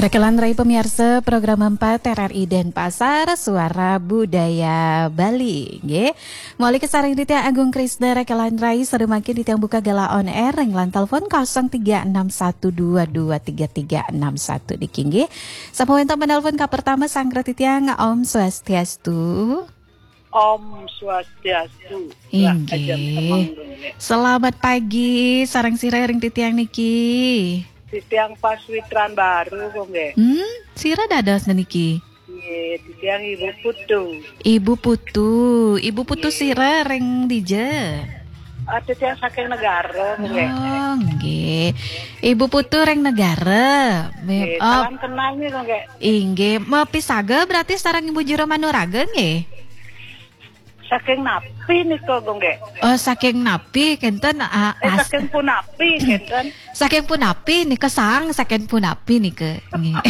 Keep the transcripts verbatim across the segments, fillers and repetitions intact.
Rekelan Rai pemirsa program empat R R I Denpasar, Suara Budaya Bali, nggih. Mauliké sareng titiang Agung Krisna, Rekelan Rai, sadaya mangkin titiang buka gala on air ring line telepon kosong tiga enam satu dua dua tiga tiga enam satu niki, nggih. Sampun wénten penelpon ka pertama, sareng titiang, Om Swastiastu. Om Swastiastu. Inggih. Rahajeng semeng, Gung Gé. Selamat pagi, sareng sira ring titiang niki? Titiang Paswitran Baru, Gung Gé. Hmm, sira dados niki? Nggih, titiang Ibu Putu. Ibu Putu, Ibu Putu Nggih. Sira ring dija? Ah, titiang saking Negara, Gung Gé. Oh, nggih. Ibu Putu ring Negara. Nggih, oh, salam kenal nih, Gung Gé. Inggih, mapisaga berarti sareng Ibu Jero Manuraga nggih? Saking napi nika, Gung Gé? Oh, saking napi kénten, ah, eh, as- saking punapi kénten? Saking punapi nika, sang saking punapi nika. Nggih.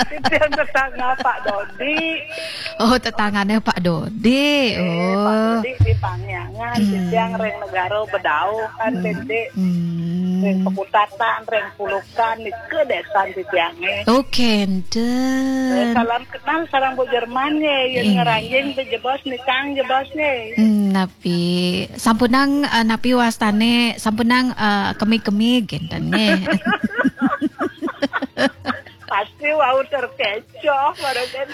Titiang tetangga Pak Dodi. Oh, tetanggane Pak Dodi. Eh, Pak Oh. Dodi di Pangyangan, Hmm. titiang ring Negara Bedau kan, Hmm. Dede. Hmm. Ring Pekutatan, ring Pulukan, nika desan titiange. Oh, kénten. Eh, salam kenal sareng Bu Jerman ye, yen Inggih. Ngranjing pe jebos nikang jebos ye. Hmm, napi sampunang, eh, napi wastane sampunang, eh, kemig-kemig kénten nggih. Pasti wau terkecoh baru kan.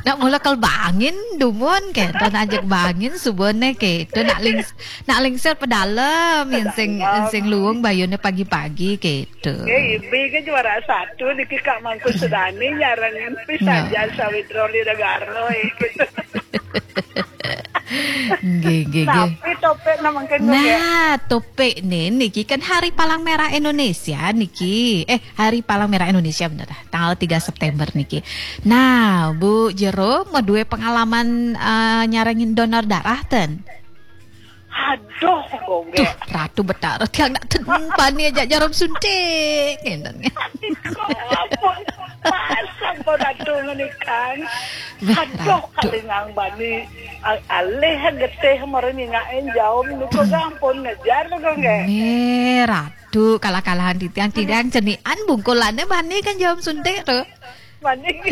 Nak mula kal bangin dumun kénten, ajak bangin subone kénten, nak lings-, nak lingsir pedalem yen sing, Pedalem. Sing luung bayune pagi-pagi kénten. Nggih, Ibi ke juara satu niki Kak Mangku Sudani nyarengin pisan Ya. Jasa Widroli Negara, eh, gitu. Nggih, nggih, nggih. Tapi topik na mungkin Nah, topik ni niki kan Hari Palang Merah Indonesia niki. Eh, Hari Palang Merah Indonesia bener dah. Tanggal tiga September niki. Nah, Bu Jero mau duwe pengalaman, eh, nyarengin donor darah ten? Aduh, Gung Gé. Duh, Ratu Betara, tiang nak ten bani aja jarum suntik. Ngénten. Aduh, ampun. Pasang pun Ratu menikang. Wah, Aduh, Ratu. Kalingang bani al-, alih getih mara nyingakin jaum niku, Gung, ampun ngejar, Gung Gé. Nih, Ratu, kalah-kalahan titiang, titiang cenian bungkulane bani kan jarum suntik tuh. Maning.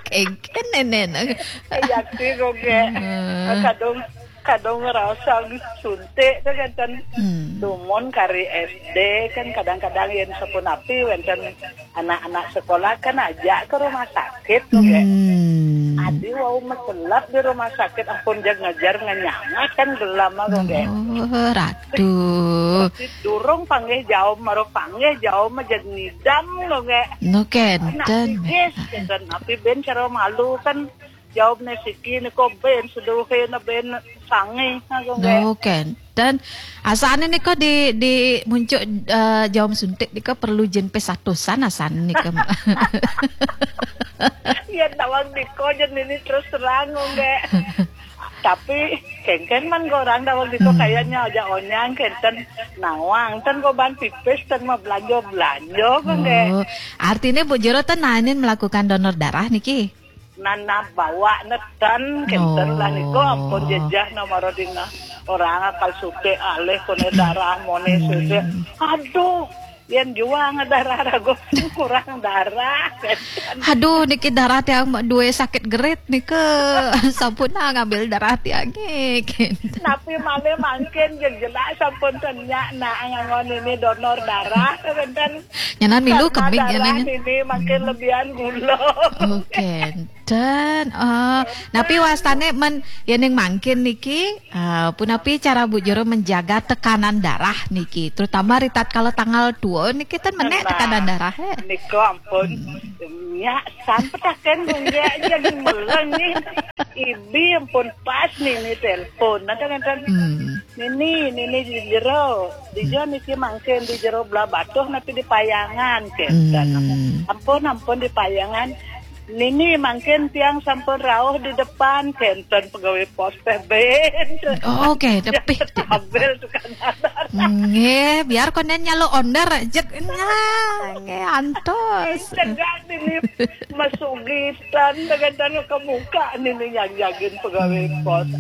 Kéngkén nénénan. Eh, yakti, Gung Gé. Heeh. Kadung, kadung ngerasa suntik tuh kan. Hmm. Dumun kari S D kan kadang-kadang yen sapunapi wénten anak-anak sekolah kan ajak ke rumah sakit tuh, Gé. Hmm. Adi wau meselap di rumah sakit, ampun, jeg ngejar ngenyangat kan gelam, Gung Gé. Oh, Ratu. Durung panggih jaum, mara panggih jaum aja ngidam, Gung Gé. No, kénten. Nak pipis, kénten. Napi ben cara malu kan jaumne siki niko ben seduhe na ben sangi, Gung Gé. No, kénten. Asane niko di, di muncuk, eh, jaum suntik niko perlu jin pes atusan asane niko. Ya, nawang niko jen ini terus terang, Gung Gé. Tapi kéngkén man orang daweg niko Hmm. kayaknya aja onyang kénten nawang ten goban pipis ten mah belanja-belanja, Gung Gé. Oh, artinya Bu Jero ten naenin melakukan donor darah niki? Nana bawa neten kénten lah niko, Oh. Ampun jejah nomor dina orang akal suke alih kone darah mone Hmm. suke. Aduh, yen juang darah ragu kurang darah. Aduh, niki darah tiang duwe sakit gerit nika. Sampun nah ngambil darah tiang nggih. Napi malih mangkin, jeg jelas sampun tenyak nak ngangon ini donor darah, kan? Nyanan milu karena kemig, darah nyanan. Ini makin Hmm. Lebihan gula. Oh, kénten. Oh, napi wastane men yening mangkin niki, eh, punapi cara Bu Jero menjaga tekanan darah niki, terutama ri tatkala tanggal tua niki ten menek Nah, tekanan darah, eh. Niko ampun. Hmm. Nya, sampetaken, Gung Gé, aja meleng nih. Ibi ampun pas nih, nih telepon. Nanti, nanti. Hmm. Nini, nini di jero. Di jero niki mangkin di jero belah batuh napi di payangan, kénten. Hmm. Ampun, ampun di payangan. Nini mangkin tiang sampun rauh di depan, kénten pegawai pos teh ben. Oh, oke, tepi. Ambil tukang adat. Nggih, biar konden nyalo onder jek. Nah, nggih, antos. Cegah nini masugitan, dengan kemuka nini yang jagin pegawai Hmm. Pos.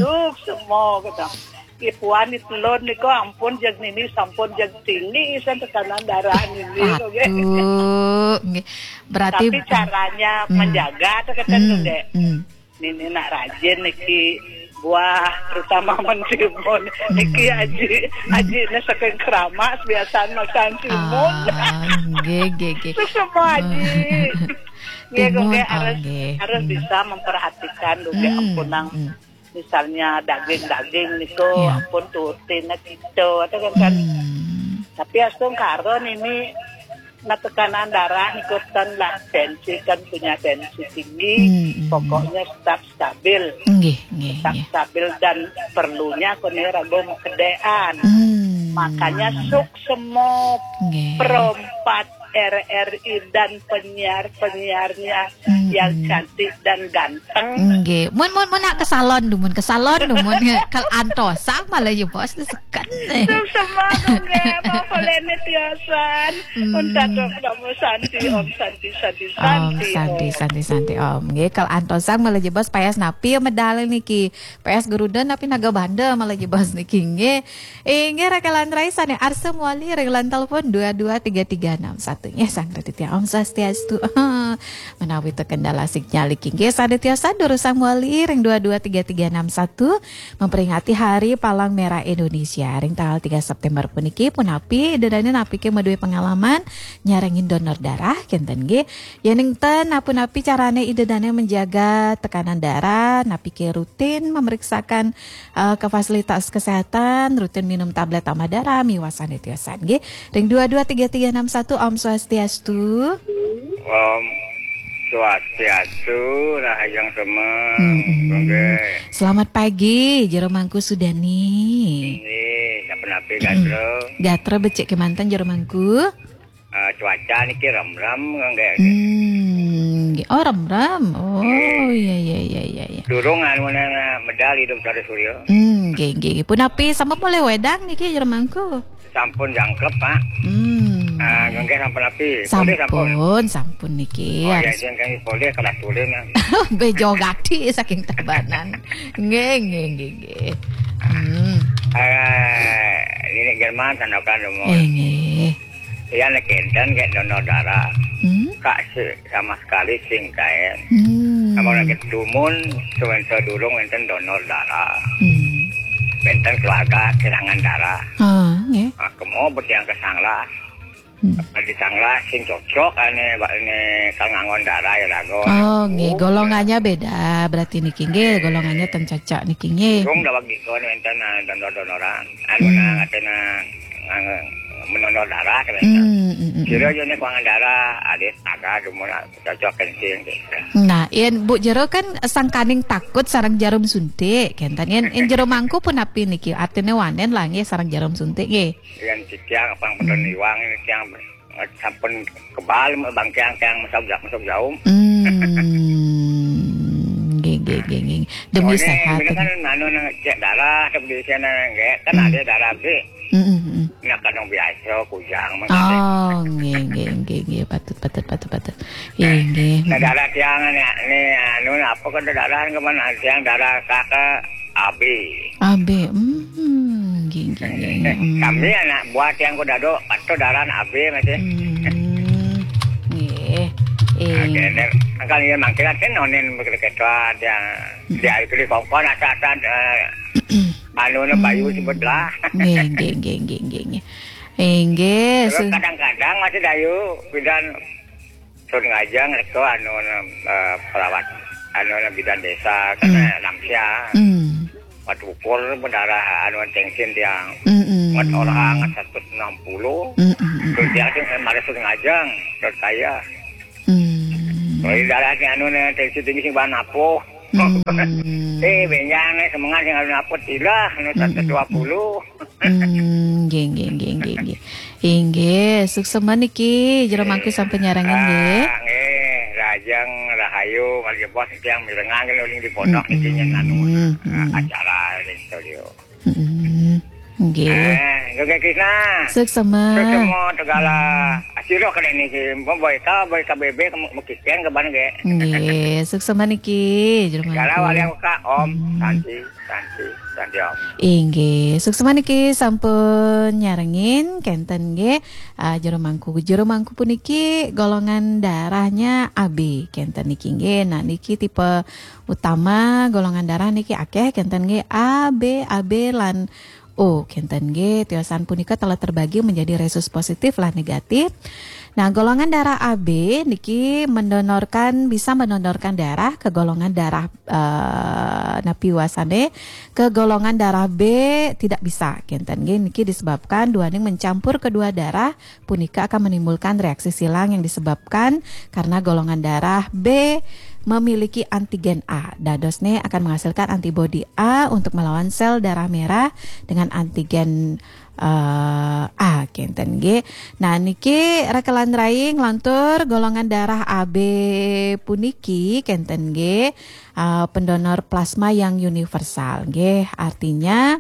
Duh, semua kata. Ipuan itelun niku ampun jeg nini sampun jeg tinggi isan tekanan darah nini, oke. Aduh, nggih. Berarti tapi caranya hmm. Menjaga teh keten hmm. Nggih. Hmm. Nini nak rajin niki buah terutama mentimun. Hmm. Niki aji aji ini saking keramas biasaan makan timun. Ah, nggih, nggih, nggih. Itu semua aji. Nggih, timun, nggih, oh, harus nggih. Harus hmm. Bisa memperhatikan juga hmm. Ampunang. Hmm. Misalnya daging-daging niku ya. Ampun turutin gitu atau kan kan hmm. Tapi astung karon ini nah tekanan darah niku kan lah tensi kan punya tensi tinggi hmm, hmm. Pokoknya tetap stabil nggih, nggih, tetap nggih. Stabil dan perlunya kone ragu kedean hmm. Makanya suk semop nggih. Perompat R R I dan penyiar-penyiarnya hmm. Yang cantik dan ganteng. Nggih. Mun mun mun nak ke salon dumun, ke salon dumun. Kal antosang malah ya bos tu seken. Sukses semua nggih, mau boleh ni tiosan. Hmm. Untuk kamu santi om santi santi santi. Om santi santi santi om. Nggih, kal antosang malah ya bos payas napi medal niki. Payas geruda napi naga banda malah ya bos niki nggih. Inggih, Rakelan Rai sane arsem wali ring line telepon dua dua tiga tiga enam satu. Nggih, Sang Raditya Om Swastiastu. Menawi terkendala sinyal niki. Nggih, sane tiosan durusang wali ring dua dua tiga tiga enam satu memperingati Hari Palang Merah Indonesia ring tanggal tiga September puniki punapi ida dane napi ke madue pengalaman nyarengin donor darah kenten nggih. Yening ten napi-napi carane ida dane menjaga tekanan darah, napi ke rutin memeriksakan eh, ke fasilitas kesehatan, rutin minum tablet tambah darah, miwasan tiosan nggih. Ring dua dua tiga tiga enam satu Om Swastiastu. Om Swastiastu, rahajeng semeng. Hmm, hmm. Nggih. Selamat pagi, Jero Mangku Sudani. Nggih, sapunapi gatra? Gatra becik kemanten Jero Mangku. Eh, cuaca niki remrem nggih. Hmm, nggih. Oh, remrem. Oh, iya iya iya iya iya. Durung anu nang medal hidup dari surya. Hmm, nggih nggih. Punapi sampun polih wedang niki Jero Mangku? Sampun jangkep, Pak. Hmm. Ah, nggih sampun api. Polih sampun. Sampun, sampun niki. Oh, ya, harus sing kami polih kelas tulen. Bejo gati saking Tabanan. Nggih nggih nggih nggih. Hmm. Eh, ini Jerman sandokan umur. Eh, nggih. Iya nek enten kayak donor darah. Hmm? Kak se- sama sekali sing kaen. Hmm. Sama lagi dumun sewensa durung enten donor darah. Hmm. Enten keluarga kehilangan darah. Ah, nggih. Nah, kemo betiang kesanglah. Hmm. Di sanglah sing cocok ane bak ini kang ngangon darah ya lagu. Oh, nggih, golongannya beda berarti niki nggih, golongannya ten cocok niki nggih. Durung dah bagi kau enten ah, donor-donoran. Anu hmm. Nah ngatena menonor darah kan. Hmm, hmm, hmm. Kira aja nih kuangan darah, ada taga cuma cocok kencing gitu. Nah, yen Bu Jero kan sangkaning takut sarang jarum suntik, kenten yen, yen Jero Mangku punapi niki? Artine wanen lah nggih sarang jarum suntik nggih. Yen titiang apa bener hmm. Niwang ini tiang sampun kebal bangkiang tiang masuk masuk jauh. Hmm. Nggih, nggih, nggih, nggih. Demi soalnya sehat. Ini kan anu nang cek darah tapi di sana nggih kan hmm. Ada darah sih. Heeh, heeh. Nah, kadang biasa kujang mah. Oh, nggih nggih nggih nggih patut patut patut patut. Nggih nggih. Nah, darah tiang ni ni anu apa kan darah ke mana tiang darah kakak A B. A B. Hmm, nggih nggih nggih. Hmm. Kami anak buah tiang ku dado patut darah A B masih. Hmm. Nggih. Eh. Angkal ini mangkil kan nonin bekerja tiang dia itu di kongkon atas atas eh, anu na bayu hmm. Sebut lah. Nggih, nggih, nggih, nggih, nggih, nggih. Inggih. Terus su- kadang-kadang masih dayu bidan sun ngajang itu anu eh, perawat anu na bidan desa karena hmm. Namsia. Hmm. Waktu ukur mendarah anu tensin tiang. Hmm, hmm. Ngat orang satu enam puluh. Hmm, hmm, hmm. Terus dia tu mari sun ngajang terus saya. Hmm. Kalau darahnya anu na tensi tinggi sing bahan apa? Hmm. Eh, benjang eh semengan sing alun apot ilah anu tata dua puluh. Hmm, nggih nggih nggih nggih nggih. Inggih, suksema niki Jero Mangku sampun nyarengin nggih. Ah, nggih, Rajang Rahayu, malih bos tiang mirengang kene uling di pondok niki nyen anu. Hmm, hmm. Acara ring studio. Hmm, nggih. Eh, nggih Krisna. Suksema. Suksema tegala. Asiro kene niki, boy ka, boy ka bebek mekikeng ke ban ge. Nggih, suksema niki, Jero Mangku. Kalau wali aku ka, Om, hmm. Santi, Santi. Inggih, suksma niki sampun nyarengin kenten nggih. Ah, jero mangku, jero mangku puniki golongan darahnya A B kenten niki nggih. Nah, niki tipe utama golongan darah niki akeh kenten nggih, A B, A B lan O kenten nggih. Tiosan punika telah terbagi menjadi rhesus positif lan negatif. Nah, golongan darah A B niki mendonorkan, bisa mendonorkan darah ke golongan darah, eh, napi wasane, ke golongan darah B tidak bisa kenten nggih. Niki disebabkan duaning mencampur kedua darah punika akan menimbulkan reaksi silang yang disebabkan karena golongan darah B memiliki antigen A. Dadosne akan menghasilkan antibodi A untuk melawan sel darah merah dengan antigen eh, A kenten nggih. Nah, niki rekelan rai nglantur golongan darah A B puniki kenten nggih. Eh, pendonor plasma yang universal nggih. Artinya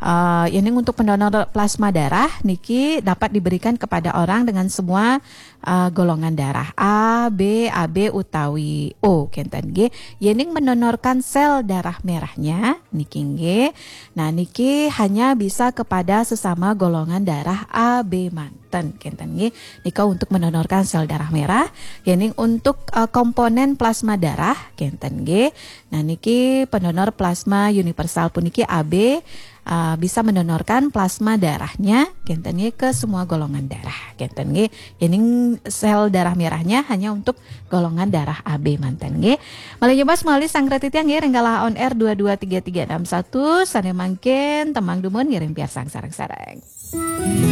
eh, ini untuk pendonor plasma darah niki dapat diberikan kepada orang dengan semua eh, golongan darah A, B, A B utawi O kenten nggih. Yening mendonorkan sel darah merahnya niki nggih. Nah, niki hanya bisa kepada sesama golongan darah A B manten kenten nggih. Nika untuk mendonorkan sel darah merah. Yening untuk eh, komponen plasma darah kenten nggih. Nah, niki pendonor plasma universal puniki A B eh, bisa mendonorkan plasma darahnya kenten nggih ke semua golongan darah kenten nggih. Yening sel darah merahnya hanya untuk golongan darah A B manten nggih. Malih nyoba semali sangkretitya nggih ring galah on air dua dua tiga tiga enam satu, sane mangkin temang dumun ngiring piarsang sareng-sareng.